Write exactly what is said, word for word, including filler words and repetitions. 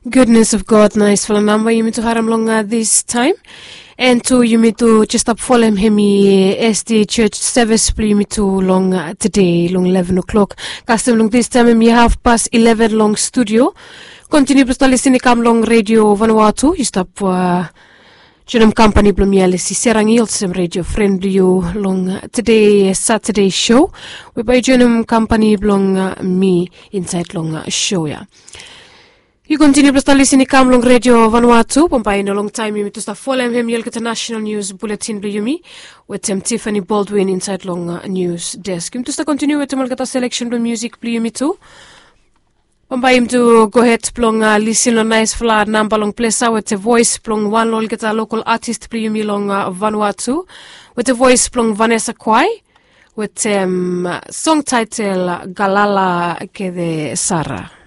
Goodness of God, naisfala namba yumi tu harem long distaem. En tu yumi tu jes stap folem hem i sd church sevis blong yumi tu long tede long eleven o'clock. Kastem long distaem hem i hafpas eleven long studio. Kontiniu blong stap lisin i kam long redio vanua tu yu stap joinim kampani blong mi alisi serangi olsem redio fren blong yu long tede satade sho. We bai yu joinim kampani blong mi insaed long sho ya. Yu kontiniu blong stap lisin i kam long redio vanua tu bambae i no longtaem yumi tu stap folem hem i olgeta nasenal nius buletin blong yumi wetem tifani boldwin insaed long nius desk yumi tu stap kontiniu wetem olgeta seleksen blong musik blong yumi tu. Bambae yumi tu gohed blong lisin long naisfala namba long ples ya wetem voes blong wan long olgeta lokol atis blong yumi long vanua tu wetem voes blong vanesa kwae wetem song taetel galala kede sara.